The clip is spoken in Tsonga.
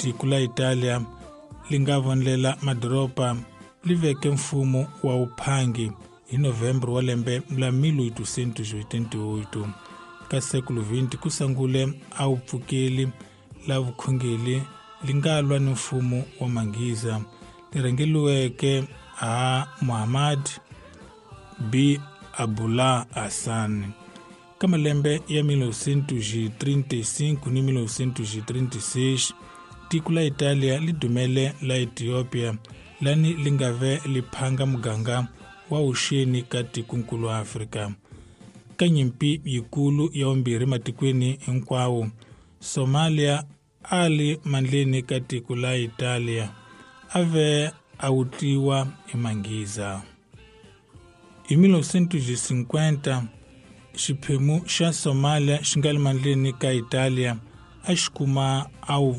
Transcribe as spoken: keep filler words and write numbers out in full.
Tiko la Italia li nga vonlela madoroba li veke mfumo wa uphangi hi Novembro wa lembe la mil oitocentos e oitenta e oito. Ka século vinte ku sungule a vupfukeli la vukhongeri li nga lwa ni mfumo wa Manghiza li rhangeriweke ha Muhammad B Abdullah Hassan. Ka malembe ya mil novecentos e trinta e cinco ni mil novecentos e trinta e seis, tiko la Italia li dumele la Ethiopia lani li nga ve li phanga muganga wa vuxeni ka tikonkulu wa Afrika. Ka nyimpi yikulu ya vumbirhi matikweni hinkwawo, Somalia a li mandleni ka tiko la Italia a ve a wutliwa hi Manghiza. Hi mil novecentos e cinquenta, xiphemu xa Somalia xi nga le mandleni ka Italia a xi kuma a wu